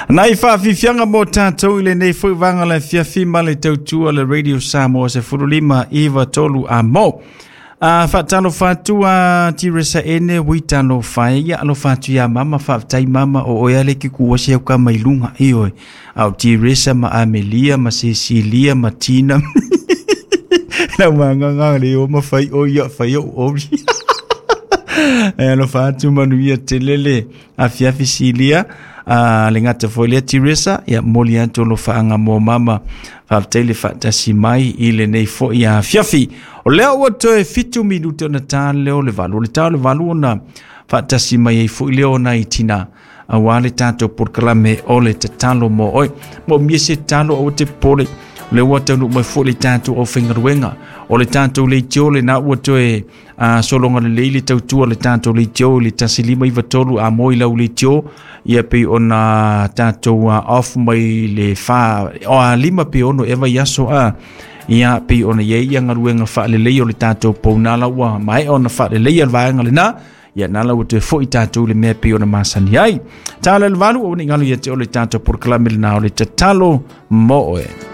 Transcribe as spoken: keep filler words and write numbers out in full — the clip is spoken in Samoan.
Nai faafiafiaga mo tatou i lenei foi vaga le afiafi ma le tautua le Radio Samoa sefulu lima iva tolu a mo. A faatalofa atu a Tiresa ene ui talofa e ia alofa atu ia mama faafetai mama o oe ale ki ku wasi au ka mai lunga i oe. Au Tiresa ma Amelia ma Cecilia ma Tina. Lau manganga le o ma fai o ia fai o ori. E alofa atu manuia telele afiafi Silia. A le gata foi lea Tiresa ia moli atu alofaga mo mama faafetai le faatasi mai i lenei foi afiafi. O lea ua toe fitu minute ona ta leo le valu. O le ta o le valu ona faatasi mai ai foi lea o nai tina auā le tatou polokalame o le tatalo mo oe. Mo mia se tatalo aua te popole. O lea ua taunuu mai foi le tatou aufaigaluega. O le tatou leitio lena ua toe uh, sologa lelei le tautua le tatou leitio i le tasi lima iva tolu a mo i lau leitio ia pei ona tatou uh, off mai le fa o a lima pe ono e vai aso a ia pei ona iai ia galuega faalelei o le tatou pounala ua maea ona faalelei le vaega lena ia nala ua toe foi tatou le mea pei ona masani ai. Tala le valu o ni galu ia te o le tatou polokalame lena o le tatalo mo oe.